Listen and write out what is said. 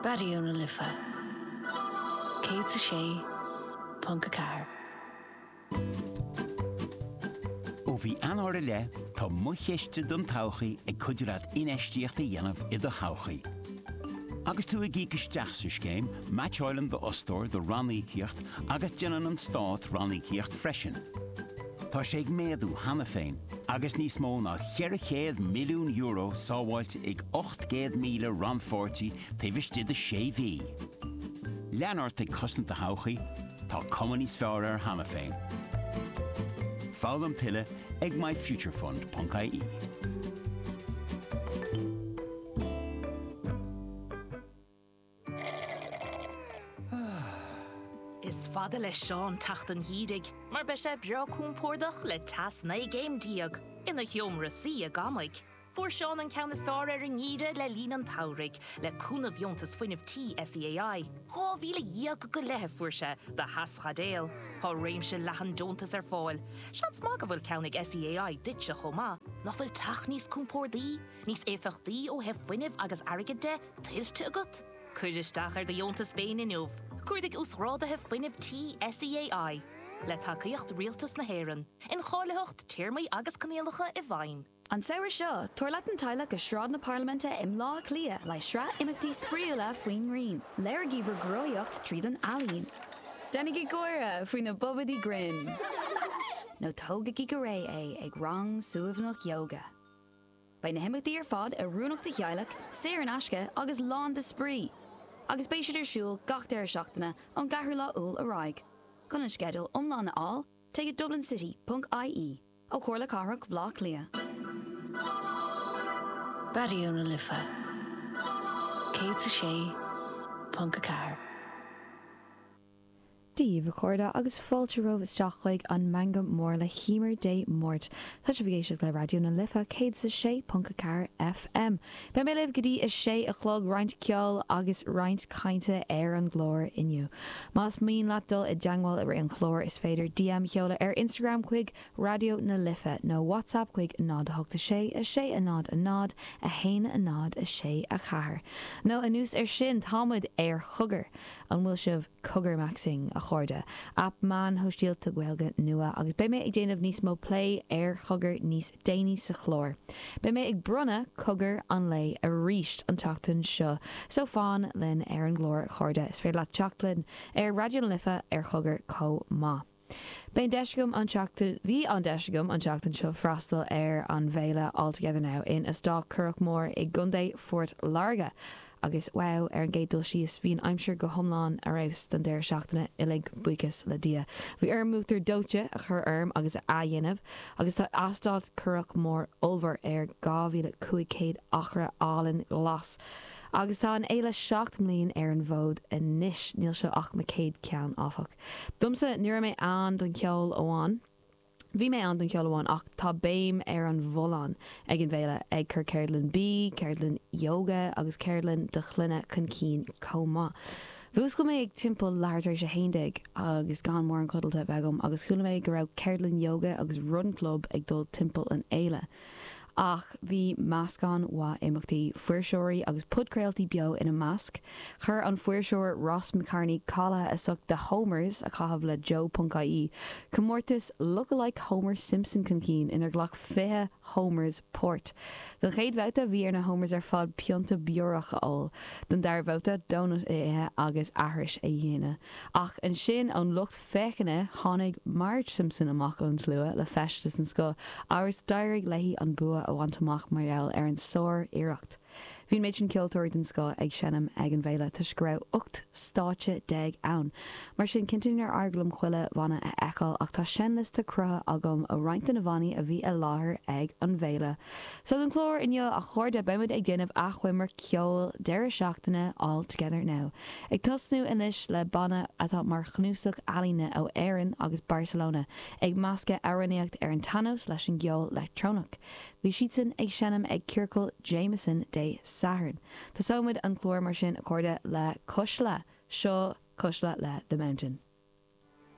Raidió na Life 106.4. Ó mhí Eanáir i leith, tá Mo Chiste don Todhchaí ag cuidiú leat infheistíocht a dhéanamh i do thodhchaí. Agus tú ag íoc isteach sa scéim, meaitseáileann d'fhostóir do ranníocaíocht agus déanann an Stát ranníocaíocht freisin. Tá sé ag méadú cheana féin agus níos mó ná €400 milliún sábháilte ag 800,000 rannpháirtí taobh istigh de sé mhí. Lean ort ag cosaint do thodhchaí, tá cuma níos fearr air cheana féin. Foghlaim tuilleadh ag myfuturefund.ie. Is fada le Seán teacht an gheimhridh mar beidh sé breá compordach le teas 19 gcéim ina sheomra suí i gCamaigh. Fuair Seán an ceann is fearr ar an ngeimhreadh le linn an tsamhraidh, le cúnamh Dheontas Fuinnimh Tí SEAI. 12,000 go leith a fuair sé do theaschaidéal. Tá réimse leathan deontas ar fáil. Seans maith go bhfuil ceann ag SEAI duitse chomh maith. Nach bhfuil teach níos compórdaí, níos éifeachtaí ó thaobh fuinnimh agus airgid de, tuillte agat? Cuir isteach ar do dheontas féin inniu. Cuardaigh Uasghráduithe Fuinnimh Tí SEAI. Le tacaíocht Rialtas na hÉireann. Incháilitheacht, téarmaí agus coinníollacha i bhfeidhm. An samhradh seo, tabhair leat an teaghlach go Sráid na Parlaiminte i mBleá Cliath le sraith imeachtaí spraíúla faoin ngrian. Léirigí bhur gcruthaíocht tríd an ealaín. Déanaigí gáire faoi na bobaidí grinn. Nó tógaigí go réidh é ag rang suaimhneach ióga. Beidh na himeachtaí ar fad oiriúnach do theaghlach, saor in aisce agus lán de spraoi! Agus beidh siad ar siúl gach deireadh seachtaine ón gceathrú lá Iúil ar aghaidh. Chun an sceideal iomlán a fháil, téigh go dublincity.ie. Ó Chomhairle Cathrach Bhaile Átha Cliath. Raidió na Life 106.4. Dia daoibh, a chairde, agus fáilte romhaibh isteach chuig an Meangadh Mór le hEmer Dé Máirt. Tá sibh ag éisteacht le Raidió na Life 106.4 FM. Beidh mé libh go dtí a sé a chlog, roinnt ceoil agus roinnt cainte ar an gclár inniu. Más mian leat dul i dteangmháil i rith an chláir, is féidir DM a sheoladh ar Instagram chuig Raidió na Life nó WhatsApp chuig 0 8 6 6 0 0 1 0 6 4. Nó anuas air sin, tá muid ar Chogar! An bhfuil sibh Cogarmaxing, a chairde? Aip meáin shóisialta Gaeilge nua agus beidh mé ag déanamh níos mó plé ar Chogar níos déanaí sa chlár. Beidh mé ag bronnadh Cogar an Lae arís an tseachtain seo so fan linn ar an gclár, a chairde. Is féidir leat teacht linn ar Raidió na Life ar Chogar chomh maith. Beidh an deis agam an tseachtain, bhí an deis agam an tseachtain seo freastal ar an bhféile All Together Now in Eastát Currach Mór i gContae Phort Láirge agus wow, ar an gcéad dul síos, bhí an aimsir go hiomlán ar fheabhas don deireadh seachtaine uilig, buíochas le Dia. Bhí orm m'uachtar dóite a chur orm agus a athdhéanamh agus tá Eastát Currach Mór ollmhór ar 2,500 acra álainn glas agus tá an fhéile 7 mbliain ar an bhfód anois, níl seo ach mo chéad ceann áfach. Domsa, ní raibh mé ann don cheol amháin. Bhí mé ann don cheol amháin ach tá béim ar an bhfolláine ag an bhféile, ag cur ceardlann bídh, ceardlann yoga agus ceardlann do shloinne chun cinn chomh maith. Mhúscail mé ag timpeall leathuair tar éis a haon déag agus gan mórán codlata a bheith agam agus chuala mé go raibh ceardlann yoga agus run club ag dul timpeall an fhéile. Ach bhí meascán mhaith imeachtaí, fuirseoirí agus podchraoltaí beo ina measc. Chuir an fuirseoir Ross McCarney, cáilithe as ucht The Homers a chaitheamh le Joe.ie, comórtas Look-alike Homer Simpson chun cinn inar ghlac 20 Homers páirt. Don chéad bhabhta bhí ar na Homers ar fad pionta beorach a ól, don dara babhta donut a ithe agus aithris a dhéanamh. Ach ansin ón lucht féachana, tháinig Marge Simpson amach ón slua le feisteas den scoth agus d'éirigh léi an bua a bhaint amach mar gheall ar an sár-iarracht. Bhí an méid sin ceoltóirí den scoth ag seinm ag an bhféile toisc go raibh 18 stáitse ann. Mar sin, cinnte níor éirigh liom chuile bhanna a fheiceáil ach tá seinnliosta cruthaithe agam ó roinnt de na bhannaí a bhí i láthair ag an bhféile. So don chlár inniu, a chairde, beidh muid ag déanamh achoimre ceoil deireadh seachtaine All Together Now. Ag tosnú anois le banna atá mar chnuasach ealaíne ó Éirinn agus Barcelona, ag meascadh amhránaíocht ar an tsean-nós leis an gceol leictreonach. Bhí siadsan ag seinm ag Ciorcal Jameson Dé Sathairn. Tosóidh muid an clár mar sin, a chairde, le Cuisle. Seo Cuisle le The Mountain.